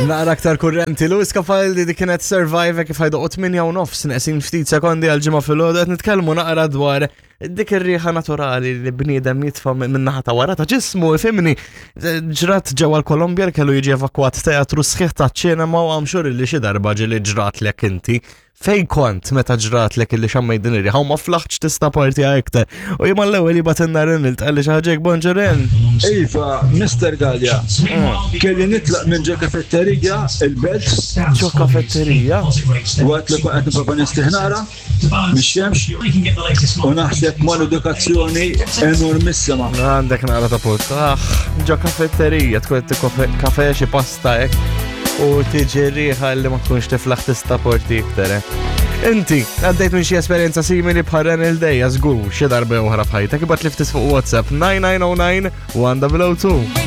Naqra aktar kurrenti, Louis Capaldi di kienet Survive kif ħajdoqgħu 8 u nofs neqsin ftit sekondi għal ġimgħa filgħodu qed nitkellmu naqra dwar dik ir-riħa naturali li bniedem jitfa' min-naħa ta' wara ta' ġismu, ifhimni. Ġrat ġewwa l-Kolombja li kellu jiġi evakwat teatru sħiħ ta' ċinema u għamxur li xi darba ġieli ġratlek inti. Fej kont meta ġratlek illi xammejt din ir-riħa u ma flaħtx tista' partija iktar. U jien mal-ewwel jibgħatilna Ren il tqalli xi ħaġa hekk bonġu Ren. Iva, Mister Galea, kelli nitlaq minn ġo kafetterija il-Belt. Ġo kafetterija? Waqt li kont qed nipprova nistrieħ naqra mix-xemx u naħseb mal-edukazzjoni enormissima. Għandek naqra ta' punt. Ah, ġo kafetterija tkun qed tikkofe kafe xi pasta hekk u tiġi riħa li ma tkunx tiflaħ tista' porti iktar. Eh. Inti, għaddejt minn xi esperjenza simili bħal Renil Dejja żgur xi darba oħra f'ħajtek, ibgħat li ftit fuq WhatsApp 9909 102.